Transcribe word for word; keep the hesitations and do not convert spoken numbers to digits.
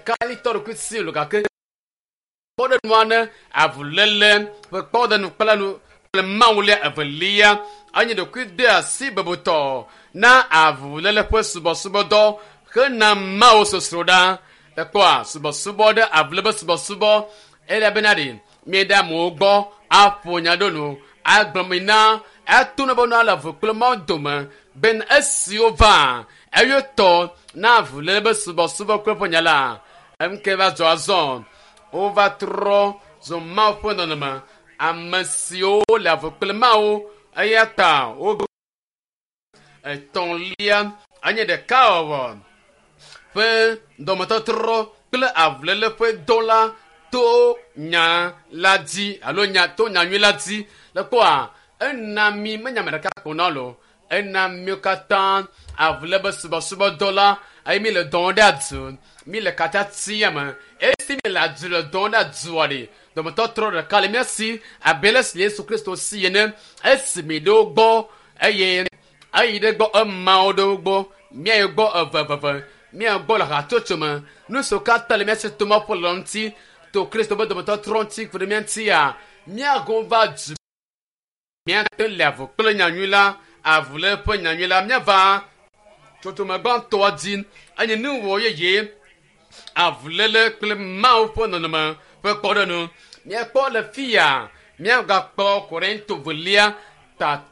ɖeka litɔ ɖokui si lo gake kpɔɖenua ne avuléle ƒe kpɔɖenu kple nu kple mawulia evelia enye ɖokui de asi bebutɔ na avuléle ƒe subɔsubɔdɔ hena mawu sosroɖa ekpɔa subɔsubɔ ɖe avuléle ƒe subɔsubɔ elabena ɖe mieɖe amewo gbɔ aƒo nya ɖo nu agblɔ mi na eto ne be nua le avu kple mawu dome bena esiwo va eyo tɔ na avuléle ƒe subɔsubɔ kple ƒe nya la emke va zɔ azɔ wova trɔ zɔ mawu ƒe nɔnɔme ame siwo le avu kple mawu eya ta wo etɔ̃lia enye ɖekawɔwɔ ƒe dɔmetɔtrɔ kple avuléle ƒe dɔ la to nya la dzi alo nya to nyanyui la dzi le kpɔa ena mi menya ame ɖeka ko na lo ena mi katã avuléle be subɔsubɔdɔ la eye mi le dɔn ɖe adu mi le katã tia me esi mi le adu le dɔn ɖe adua ɖe dɔmetɔtrɔ ɖeka le mía si abe le si Yesu Kristo si ene esi mi ɖewo gbɔ eye eyi ɖe gbɔ emawo ɖewo gbɔ míayi gbɔ eveveve mía gbɔ le hatsotso me nu siwo katã le mía si to maƒo le ŋuti to Kristo be dɔmetɔtrɔ ŋuti ku ɖe mía ŋutia míago va du míate le avu kple nyanyui la avu le ƒe nyanyui la míava tsotsome gbãtɔa dzi enye nuwɔ yeye avuléle kple mawu ƒe nɔnɔme ƒe kpɔɖenu míakpɔ le fi ya míagakpɔ Korinto velia tatɔ